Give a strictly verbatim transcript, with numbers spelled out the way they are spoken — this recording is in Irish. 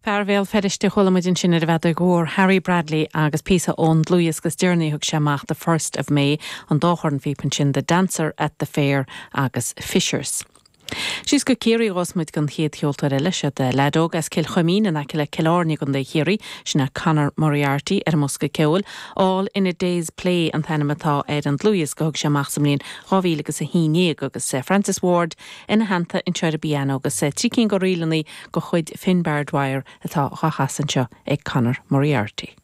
Fear Bhéal Feirste chuala muid ansin ar an bhfeadóg mhór Harry Bradley agus píosa ón dlúthdhiosca is deireanaí thug sé amach the first of May an dá chornphíopa ansin The Dancer at the Fair agus Fishers. Síos go Ciarraí a ghabhfas muid don chéad cheoltóir eile seo de leaid óg as Cill Chuimín in aice le Cill Airne i gContae Chiarraí sin é Conor Moriarty ar an mbosca ceoil, All in a Day's Play an t-ainm atá ar an dlúthdhiosca thug sé amach sa mbliain dhá mhíle agus a haon déag agus eh, Francis Ward ina theannta anseo ar an bpianó agus eh, trí cinn de ríleanna de chuid Finbar Dwyer atá á chasadh anseo ag Conor Moriarty.